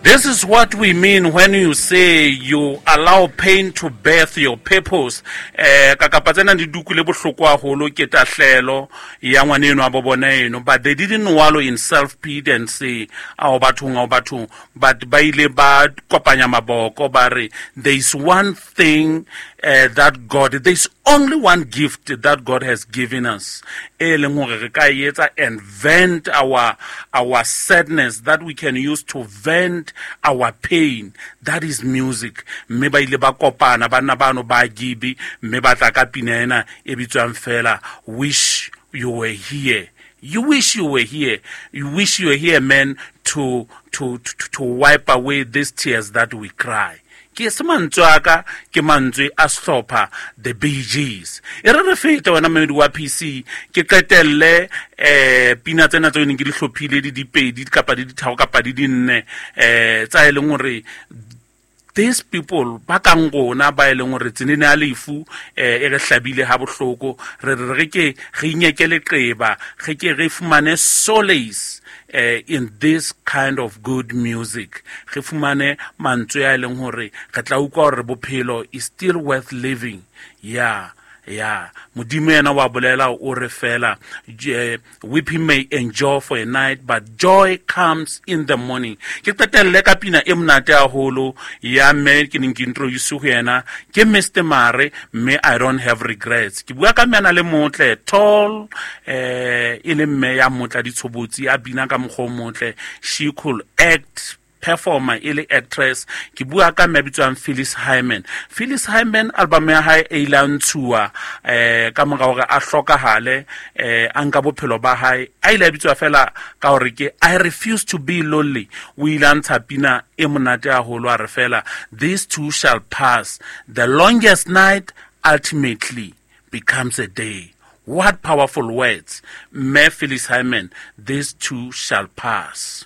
This is what we mean when you say you allow pain to birth your purpose. Ka kapa tsena di dukule bohloko haholo ke tahlelo ya ngwaneno a bo bona eno, but they didn't wallow in self pity and say ao bathong, ao bathong, but ba ile ba kopanya maboko ba re there is one thing that God, there is only one gift that God has given us, e leng hore re ka e etsa and vent our sadness that we can use to vent our pain, that is music. Mme ba ile ba kopana banna bano ba Gibi, mme ba tla ka pina ena e bitswang fela Wish You Were Here. You wish you were here. You wish you were here, man, to wipe away these tears that we cry. Ke se mantswe a ka, ke mantswe a sehlopha The Bee Gees. E re re fete wena mmedi wa PC, ke qetelle pina tsena tseo neng ke di hlophile di dipedi kapa di ditharo kapa di dinne, tsa e leng hore these people ba kang rona ba e leng hore tsenene ya lefu e re hlabile ha bohloko, re re re ke re inyeke leqeba, re ke re fumane solace in this kind of good music, re fumane mantswe a e leng hore re tla utlwa hore bophelo is still worth living. Yeah, yeah. Modimo yena wa bolela o re fela, weeping may endure for a night, but joy comes in the morning. Ke qetelle ka pina e monate haholo ya mme ke neng ke introduce ho yena, ke Mr. Mare, mme I Don't Have Regrets. Ke bua ka mme a na le motle, tall, e le mme ya motle ditshobotsi, a bina ka mokgwa o motle. She could act, performer e le actress. Ke bua ka mme a bitswang Phyllis Hyman. Phyllis Hyman, album ya hae e ile ya ntshuwa ka mora hore a hlokahale, a nka bophelo ba hae, a ile a bitswa fela ka hore ke I Refuse to Be Lonely. O ile a ntsha pina e monate haholo, a re fela this too shall pass, the longest night ultimately becomes a day. What powerful words. Mme Phyllis Hyman, this too shall pass.